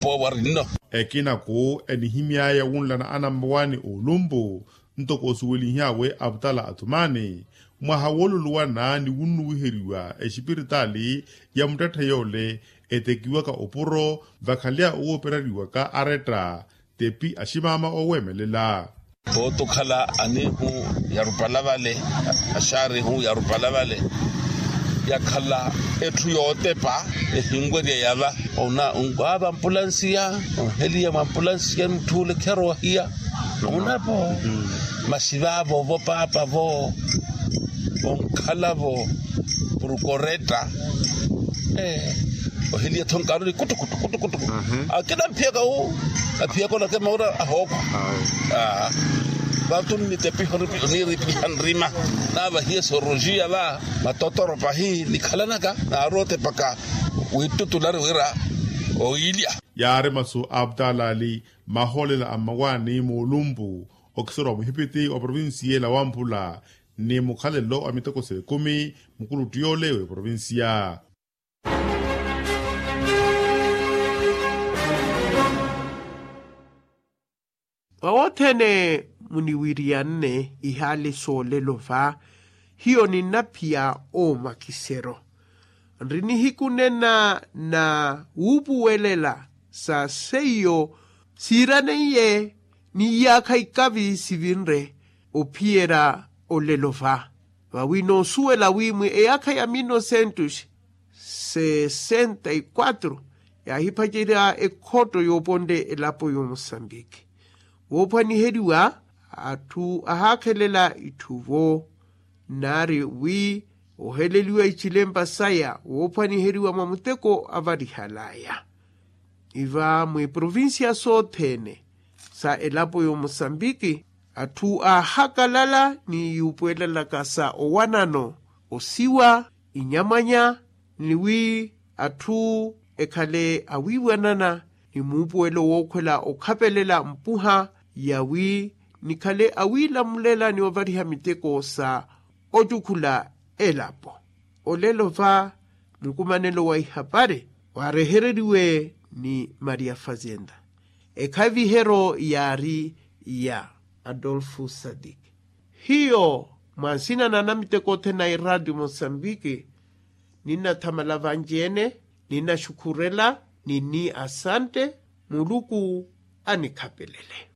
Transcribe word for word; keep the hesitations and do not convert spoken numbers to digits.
Poowa rinno. Ekinaku enihimy'aya wunlana anammawaani oolumpu ntoko osuwelihiyawe aputala athumaani mwaha wooluluwana ni wunnuwiheriwa exipiritaali ya muttetthe yoole etekiwaka opuro vakhalya owooperariwaka aretta tepi aximaama ooweemelela. Pooto okhala anihu yarupala vale, axaarihu yarupala vale yakhala etthu yootepa ehinwerya yava. Ona onwaava ampulansiya, onheliya mwa ampulansiya mutthuule kheroohiya. Onapo masi vaavo vo paapa vo onkhalavo prukoretta. Oheliya tho nkaaroni kutukutu kutukutu. Akina mphiyaka wu aphiyaka onakema ura ahookhwa. Vatu nnitepiha oniiripiha nrima naavahiye sorolojiya va matotoro pahi nikhalanaka naaroote mpakha wittutulari wira owiilya. Yaari masu a aputalaali mahoolela a mmawaani moolumpu okisoro wa muhipiti wa provinsiya ela wamphula ni mukhalelo wa miteko s'ekumi mukuluttu yoole w'eprovinsiya. Mwawothene muniwiriyanne ihaali soolelo va hiyo ninnaphiya omakisero nri nihiku nena na wuupuwelela sa seiyo siiraneiye ni iyaakha ikavi sivinre ophiyerya olelo va vawi noosuwela wi mwi eyaakha ya mil nocentos sessenta y quatro yaahipacerya ekhotto yooponle elapo y'omusambiki woophwaniheriwa atthu ahaakhelela itthu vo nnaari wi oheleliwa icilempa saya woophwaniheriwa mwa muteko avarihal'aya iva mwiprovinsiya sothene sa elapo y'omusambiki atthu aahakalala ni yuupuwelelaka sa owanano osiwa inyamwanya ni wi atthu ekhale awiiwanana ni muupuwelo wookhwela okhapelela mpuha yawi nikhale awiilamulela ni ovariha miteko sa ocukhula elapo olelo va mukumanelo wa ihapari waarehereriwe ni maria fazenda ekhaviheryo yaari ya adolfo sadik hiyo mwa nsina na anamiteko othene a iraatiyo mosambiki ninnathamala vanci-ene ninnaxukhurela ni ni asante muluku anikhapelele